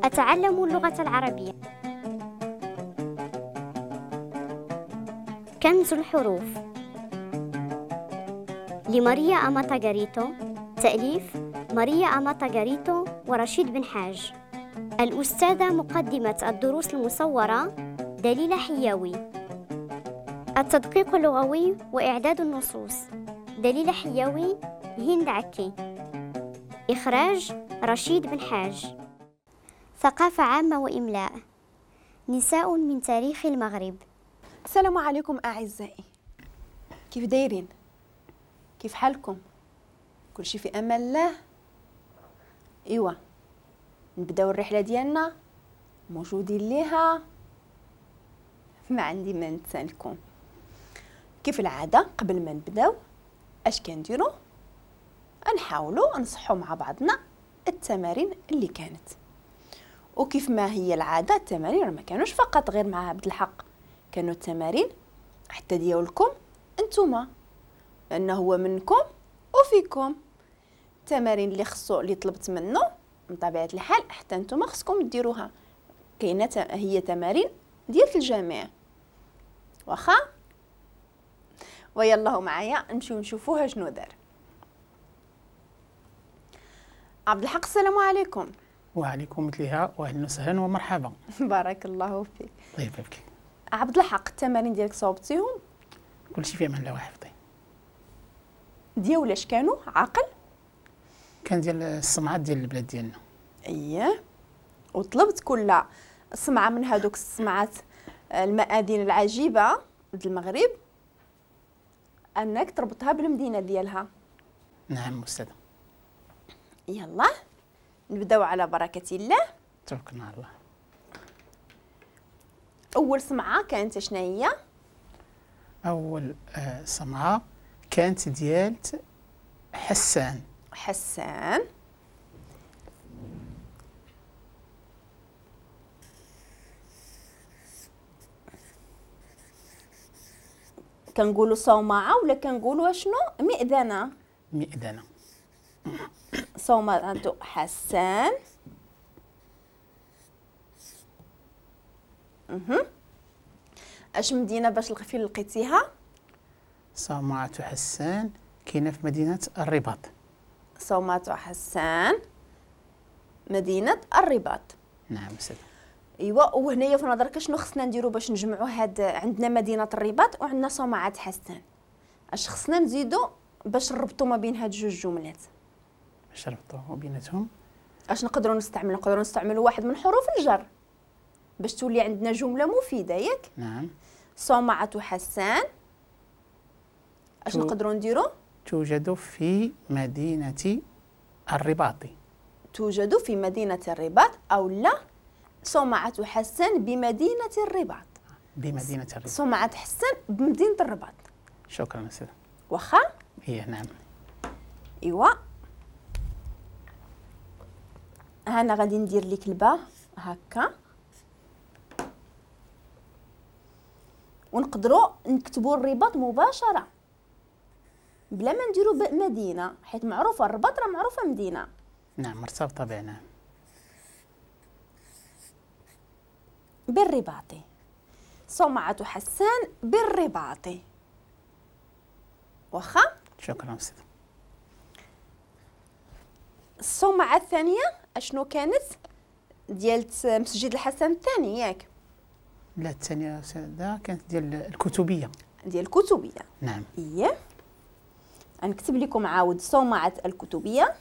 أتعلم اللغة العربية. كنز الحروف لماريا أماتا غاريتو، تأليف ماريا أماتا غاريتو ورشيد بن حاج. الأستاذة مقدمة الدروس المصورة دليلة حياوي. التدقيق اللغوي وإعداد النصوص دليلة حياوي، هند عكي. إخراج رشيد بن حاج. ثقافة عامة وإملاء. نساء من تاريخ المغرب. السلام عليكم أعزائي، كيف دايرين؟ كيف حالكم؟ كل شيء في أمان الله؟ إيوا نبداو الرحلة ديالنا، موجودين ليها، ما عندي ما نتسالكم. كيف العادة قبل ما نبداو اش كنديرو؟ نحاولوا نصحوا مع بعضنا التمارين اللي كانت. وكيف ما هي العادة التمارين ما كانوش فقط غير مع عبد الحق، كانوا التمارين حتى ديالكم انتوما، لانه هو منكم وفيكم. التمارين اللي خصو اللي طلبت منه من طبيعة الحال حتى نتوما خصكم ديروها، كاينه هي تمارين ديال الجميع. واخا ويلا معايا نمشيو نشوفوها شنو دار عبد الحق. السلام عليكم. وعليكم مثلها واهلا وسهلا ومرحبا. بارك الله فيك. طيب فيك عبد الحق، التمارين ديالك صوبتيهم؟ كلشي في امان الله وحفظي. ديال اش كانوا؟ عاقل؟ كان ديال الصمعات ديال البلاد ديالنا. اييه، وطلبت كل صمعه من هذوك الصمعات المآذن العجيبة ديال المغرب انك تربطها بالمدينة ديالها. نعم استاذه. يلا نبداو على بركة الله. توكلنا على الله. اول صمعه كانت شنو هي؟ اول صمعه كانت ديال حسان. حسان. كنقولوا صومعه ولا كنقولوا شنو؟ مئذنه. مئذنه. صومعة حسان. اش مدينة باش فين لقيتيها؟ صومعة حسان كاينه في مدينة الرباط. صومعة حسان مدينة الرباط. نعم سيدي. ايوا، وهنايا في نظرك شنو خصنا نديرو باش نجمعوا هاد؟ عندنا مدينة الرباط وعندنا صومعة حسان، اش خصنا نزيدو باش نربطوا ما بين هاد جوج جملات؟ باش نربطوا بيناتهم اش نقدروا نستعملوا؟ نقدروا نستعملوا واحد من حروف الجر باش تولي عندنا جملة مفيدة، ياك؟ نعم. صومعة حسان اش نقدروا نديروا؟ توجد في مدينة الرباط. توجد في مدينة الرباط، او لا صومعة حسان بمدينة الرباط. بمدينة الرباط. صومعة حسان بمدينة الرباط. شكرا أستاذ. واخا؟ إيه نعم. إيوا أنا غادي ندير لك الباء هكا، ونقدروا نكتبوا الرباط مباشرة بلا ما نديروا مدينة، حيت معروفة الرباط راه معروفة مدينة. نعم مرتبطة بها. نعم. بالرباطي. صومعة حسان بالرباطي. واخا؟ شكرا أستاذ. الصومعة الثانية اشنو كانت؟ ديال مسجد الحسن الثاني، ياك؟ لا الثانية أستاذة كانت ديال الكتبية. ديال الكتبية. نعم. إيه نكتب لكم عاود صومعة الكتبية.